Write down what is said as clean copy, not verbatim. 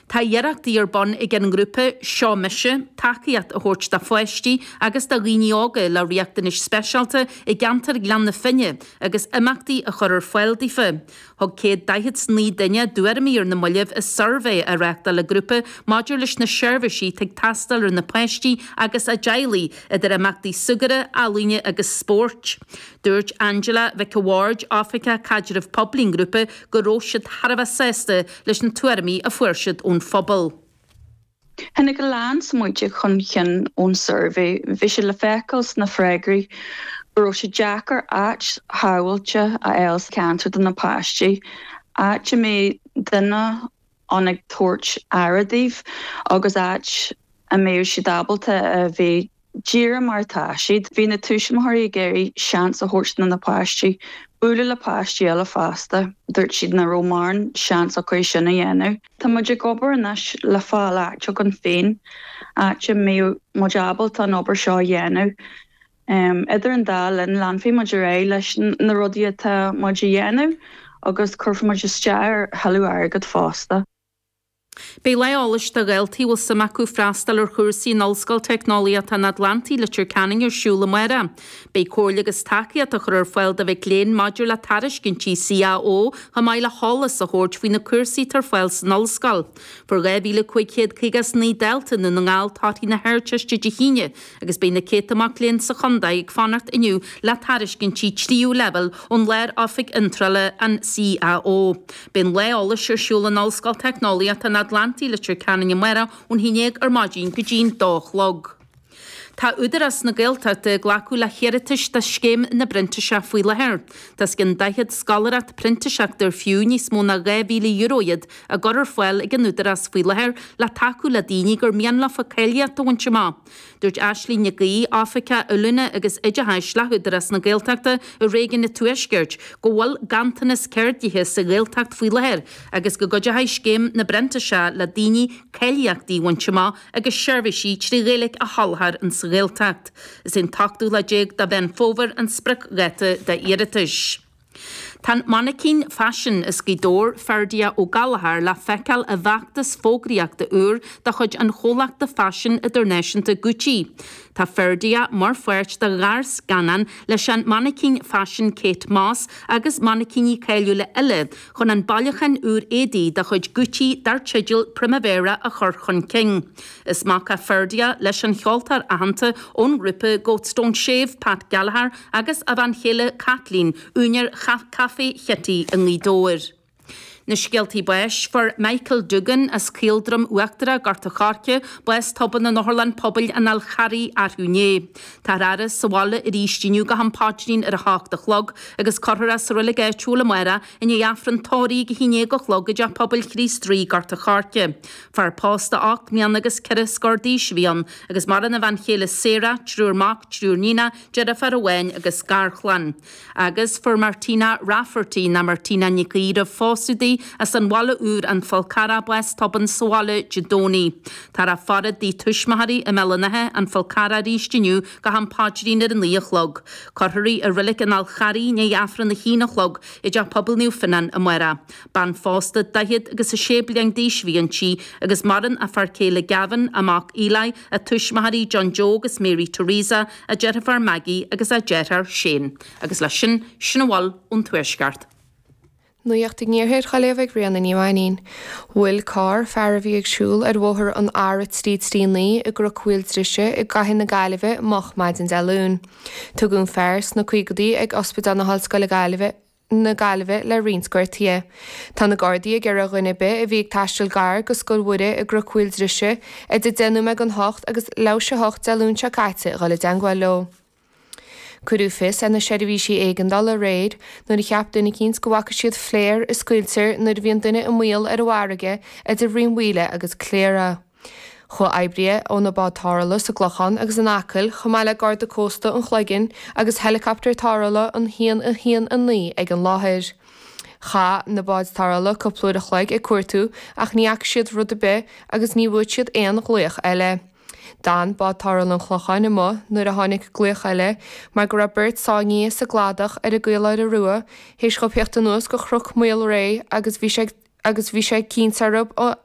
Tá iarrachtaí ar bun ag an ngrúpa Seo Mise tacaíocht a thabhairt do pháistí agus do dhaoine óga le riachtanais speisialta i gceantar Ghleann na Finne agus imeachtaí a chur ar fáil daofa. Thug 149 duine a dtuairimí ar na mallaibh i suirbhé a reáchtáil an grúpa maidir leis na seirbhísí atá ag teastáil ar na páistí agus a dteaghlaigh, idir imeachtaí súgartha, ealaíne agus spóirt. Dúirt Angela Mhic a' Bhaird, Oifigeach Caidreamh Poiblí an ghrúpa, go raibh siad thar a bheith sásta leis na tuairimí a fuair siad ón phobal. Tháinig a lán smaointe chun cinn ón suirbhé. Bhí sé le feiceáil sna freagraí go raibh sé deacair áit shábháilte a fháil sa cheantar do na páistí, áit a mbeadh duine ann ag tabhairt aire daoibh agus áit a mbeadh siad ábalta a bheith díreach mar atá siad. Bhí na tuismitheoirí ag iarraidh seans a thabhairt do na páistí bualadh le páistí eile fosta. Dúirt siad nach raibh mórán seans acu é sin a dhéanamh. Tá muid ag obair anois le fáil áit againn féin, áit a mbeadh muid ábalta an obair seo a dhéanamh. Idir an dá linn, leanfaidh muid ar aghaidh leis na rudaí atá muid a dhéanamh agus cuirfidh muid isteach ar thuilleadh airgid fosta. Beidh lá eolais do dhaltaí a bhfuil suim acu freastal ar chúrsaí in Ollscoil Teicneolaíochta an Atlantaigh, Leitir Ceanainn ar siúl amárach. Beidh comhairle agus tacaíocht á chur ar fáil do mhic léinn maidir le tairiscintí CAO chomh maith le heolas a thabhairt faoi na cúrsaí atá ar fáil san ollscoil. Fuair 2,559 dalta i nDún na nGall torthaí na hArdteiste Dé hAoine agus beidh na céadta mac léinn sa chontae ag fanacht inniu le tairiscintí tríú leibhéal ón Lár-Oifig Iontrála, an CAO. Beidh an lá eolais ar siúl in Ollscoil Teicneolaíochta an Atlantaigh, Leitir Ceanainn amárach ón 11 ar maidin go dtí'n 2 a chlog. Tá Údarás na Gaeltachta ag glacadh le hiarratais do Scéim na bPrintíseach faoi láthair. Tá os cionn 40 scoláireacht printíseachta ar fiú níos mó ná €2,000 iad á gcur ar fáil ag an Údarás faoi láthair le tacú le daoine gur mian leofa cáilíocht a bhaint amach. Dúirt Aisling Nic Aoidh, Oifigeach Oiliúna agus Oideachais le hÚdarás na Gaeltachta i Réigiún an Tuaiscirt, go bhfuil ganntanas ceardaithe sa Ghaeltacht faoi láthair agus go gcuideoidh Scéim na bPrintíseach le daoine cáilíochtaí a bhaint amach agus seirbhísí 3 Ghaeilge a sholáthar in sa Ghaeltacht. Is é an t-ochtú lá déag de Mheán Fómhair an spriocdháta d'iarratais. Tá an mainicín faisin as Gaoth Dobhair, Ferdia Ó Gallchóir, le feiceáil i bhfeachtas fógraíochta úr de chuid an chomhlachta faisin idirnáisiúnta Gucci. Tá Ferdia mar pháirt de ghearrscannán leis an mainicín faisin Kate Moss agus mainicíní cáiliúla eile chun an bailiúchán úr éadaí de chuid Gucci dar teideal Primavera a chur chun cinn. Is mac é Ferdia leis an cheoltóir aitheanta ón ngrúpa Goats Don't Shave, Pat Gallagher, agus a bhean chéile Kathleen, úinéir Chaifé Chití i nGaoth Dobhair. Na scéaltaí báis, Fuair Michael Duggan as Caoldroim Uachtarach, Gort a' Choirce, bás tobann in Otharlann Pobail an Fháil Charraigh arú inné. Táthar á fhaire sa bhaile arís inniu go ham paidrín ar a hocht a chlog agus cuirfear é sa reilig áitiúil amárach i ndiaidh Aifreann tórraimh ag a 11 a chlog i dTeach Pobail Chríost Rí, Gort a' Choirce. Fear pósta 8 mbliana agus ceithre scór d'aois a bhí ann agus maireann a bhean chéile Sarah, triúr mac, triúr níonach, deirfiúr amháin agus garchlann. Agus fuair Martina Rafferty, nó Martina Nic Aoidh roimh phósadh di, as an Bhaile Úr, An Fál Carrach, bás tobann sa bhaile Dé Domhnaigh. Táthar á faire i dtigh tuismitheoirí i mBéal an Átha, An Fál Carrach arís inniu go ham paidrín ar a 9 a chlog. Cuirfear í i Reilig an Fháil Charraigh i ndiaidh Aifreann a haon a chlog i dTeach Pobail Naomh Fionnán amárach. Bean phósta 40 agus 6 bliain d'aois a bhí inti agus maireann a fear céile Gavin, a mac Eli, a tuismitheoirí John Joe agus Mary Teresa, a deirfiúr Maggie agus a deartháir Shane. Agus leis sin, sin a bhfuil ón Tuaisceart. Nuacht an Iarthair á léamh ag Ríona Ní Mhainín. Bhuail carr fear a bhí ag siúl ar bhóthar an R339 i gCnoc Mhaoil Drise i gcathair na Gaillimhe moch maidin Dé Luain. Tugadh an fear sna caogaidí ag Ospidéal na hOllscoile Gaillimhe, na Gaillimhe le roinnt gortuithe. Tá na Gardaí ag iarraidh ar dhuine ar bith a bhí ag taisteal gar go Scoil Mhuire i gCnoc Mhaoil Drise idir 10 nóiméad don hocht agus leathuair théis a hocht Dé Luain seo caite a dhul i dteangmháil leo. Cuireadh fios ar na seirbhísí éigeandála aréir nuair a cheap duine eicínt go bhfaca siad flare a scaoiltear nuair a bhíonn duine i mbaol ar an bhfarraige idir Rinn Mhaoile agus Cléire. Chuaigh oibrithe ó na báid tarrthála sa gClochán agus in Acaill, chomh maith le Garda Cósta an Chloiginn agus heileacaptar tarrthála an 1 1 9 ag an láthair. Chaith na báid tarrthála cúpla uair a chloig ag cuartú ach ní fhaca siad rud ar bith agus ní bhfuair siad aon ghlaoch eile. D'fhan bád tarrthála an Chlocháin amuigh nuair a tháinig glaoch eile mar go raibh beirt sáinnithe sa gcladach ar an gCaoláire Rua théis dhóibh theacht anuas go Chnoc Maol Réidh agus bhí sé agus bhí sé cinnte orthu a.